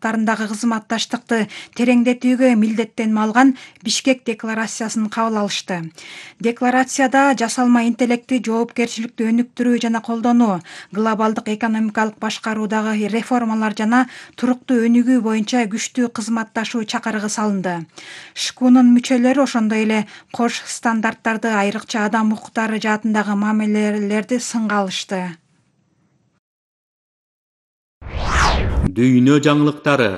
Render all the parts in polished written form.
салааттарындагы кызматташтыкты тереңдетүүгө милдеттенме алган Бишкек декларациясын кабыл алышты. Декларацияда жасалма интеллекти жоопкерчиликтүү өнүктүрүү жана колдонуу, глобалдык экономикалык башкаруудагы реформалар жана туруктуу өнүгүү боюнча күчтүү кызматташуу чакырыгы салынды. ШКУнун мүчөлөрү ошондой эле кош стандарттарды, айрыкча адам укуктары жаатындагы мамилелерди сынга алышты. Дүйнө жаңылыктары.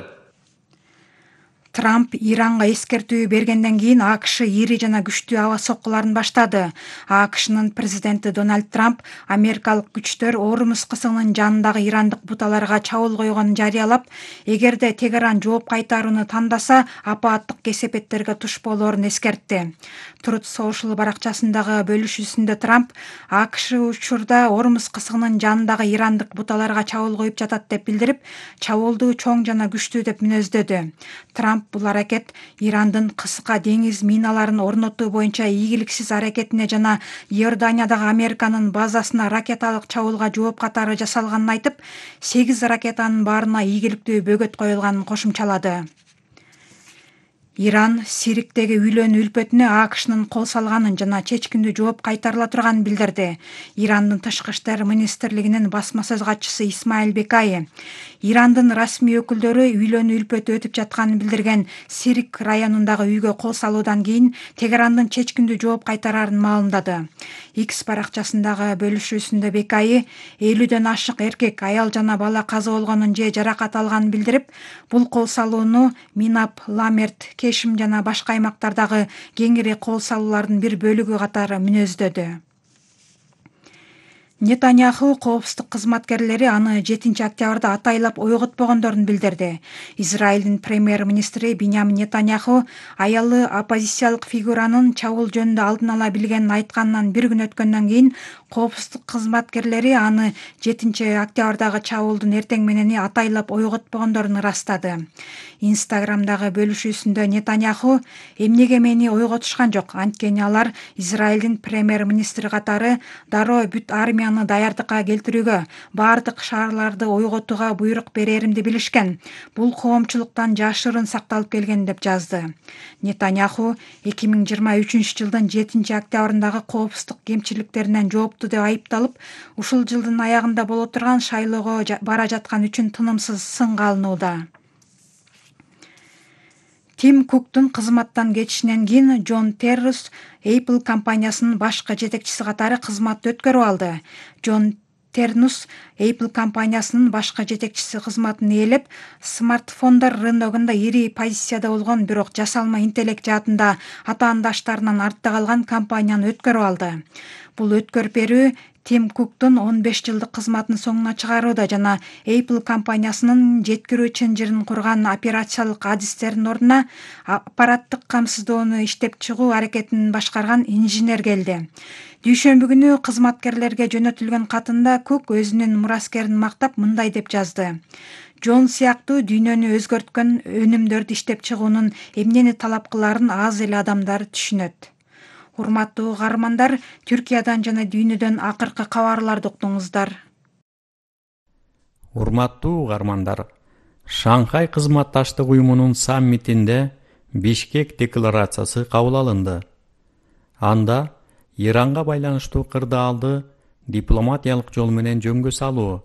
Трамп Иранга эскертүү бергенден кийин АКШ ири жана күчтүү аба соккуларын баштады. АКШнын президенти Дональд Трамп америкалык күчтөр Ормуз кысыгынын жанындагы ирандык буталарга чабуул койгонун жарыялап, эгерде Тегеран жооп кайтарууну тандаса, апааттык кесепеттерге туш болоорун эскертти. Truth Social баракчасындагы бөлүшүүсүндө Трамп АКШ учурда Ормуз кысыгынын жанындагы ирандык буталарга чабуул коюп жатат деп билдирип, чабуулду чоң жана күчтүү деп мүнөздөдү. Трамп бул аракет Ирандын кыска деңиз миналарын орнотуу боюнча ийгиликсиз аракетине жана Иорданиядагы Американын базасына ракеталык чабуулга жооп катары жасалганын айтып, 8 ракетанын баарына ийгиликтүү бөгөт коюлганын кошумчалады. Иран Сириктеги үйлөнүү үлпөтүнө АКШнын кол салганын жана чечкиндүү жооп кайтарыла турганын билдирди. Ирандын тышкы иштер министрлигинин басма сөз катчысы Исмаил Бекай Ирандын расмий өкүлдөрү үйлөнүү үлпөтү өтүп жатканын билдирген Сирик районундагы үйгө кол салуудан кийин Тегерандын чечкиндүү жооп кайтарарын маалымдады. X баракчасындагы бөлүшүүсүндө Бекай 50дөн ашык эркек, аял жана бала каза болгонун же жаракат алганын билдирип, бул кол салууну Минап, Ламерт, Кешим жана башка аймактардагы кеңири кол салуулардын бир бөлүгү катары мүнөздөдү. Нетаньяху коопсуздук кызматкерлери аны 7-октябрда атайлап ойготпогондорун билдирди. Израилдин премьер-министри Биньямин Нетаньяху аялы оппозициялык фигуранын чабуул жөнүндө алдын ала билгенин айтканынан бир күн өткөндөн кийин коопсуздук кызматкерлери аны 7-октябрдагы чабуулдун эртең менени атайлап ойготпогондорун ырастады. Инстаграмдагы бөлүшүүсүндө Нетаньяху эмнеге мени ойготушкан жок, анткени алар Израилдин премьер-министри катары дароо бүт армияны даярдыкка келтирүүгө, бардык шаарларды ойготууга буйрук береримди билишкен. Бул коомчулуктан жашырын сакталып келген деп жазды. Нетаньяху 2023-жылдын 7-октябрындагы коопсуздук кемчиликтеринен жоопту деп айыпталып, ушул жылдын аягында боло турган шайлоого бара жаткан үчүн тынымсыз сынга алынууда. Тим Куктун кызматтан кетишинен кийин Джон Террус Apple компаниясынын башкы жетекчиси катары кызматты өткөрүп алды. Джон Террус Apple компаниясынын башкы жетекчиси кызматын ээлеп, смартфондор рыногунда ири позицияда болгон, бирок жасалма интеллект жаатында атаандаштарынан артта калган компанияны өткөрүп алды. Бул өткөрүп берүү Тим Куктун 15 жылдык кызматын соңуна чыгарууда жана Apple компаниясынын жеткирүү чынжырын курган операциялык адистердин ордуна аппараттык камсыздоону иштеп чыгуу аракетин башкарган инженер келди. Дүйшөмбү күнү кызматкерлерге жөнөтүлгөн катында Кук өзүнүн мураскерин мактап мындай деп жазды: Джон сыяктуу дүйнөнү өзгөрткөн өнүмдөрдү иштеп чыгуунун эмнени талап кылаарын аз эле адамдар түшүнөт. Урматтуу угармандар, Түркиядан жана дүйнөдөн акыркы кабарларды уктуңуздар. Урматтуу угармандар, Шанхай кызматташтык уюмунун саммитинде Бишкек декларациясы кабыл алынды. Анда Иранга байланыштуу кырдаалды дипломатиялык жол менен жөнгө салуу,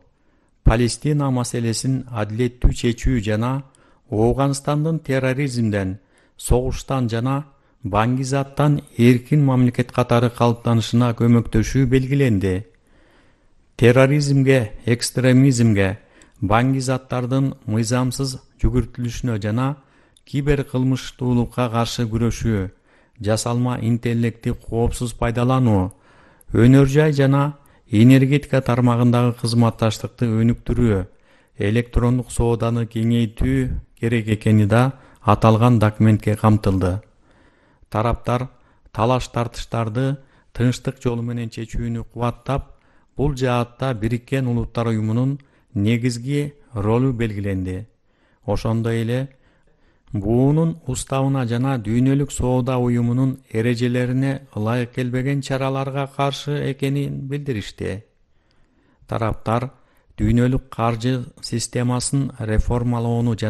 Палестина маселесин адилеттүү чечүү жана Ооганстандын терроризмден, согуштан жана баңгизаттан эркин мамлекет катары калыптанышына көмөктөшүү белгиленди. Терроризмге, экстремизмге, баңгизаттардын мыйзамсыз жүгүртүлүшүнө жана киберкылмыштуулукка каршы күрөшүү, жасалма интеллекти коопсуз пайдалануу, өнөр жай жана энергетика тармагындагы кызматташтыкты өнүктүрүү, электрондук сооданы кеңейтүү керек экени да аталган документке камтылды. Тараптар талаш-тартыштарды тынчтык жолу менен чечүүнү кубаттап, бул жаатта Бириккен Улуттар уюмунун негизги ролу белгиленди. Ошондой эле буунун уставына жана дүйнөлүк соода уюмунун эрежелерине ылайык келбеген чараларга каршы экенин билдиришти. Тараптар дүйнөлүк каржы системасын реформалоону жана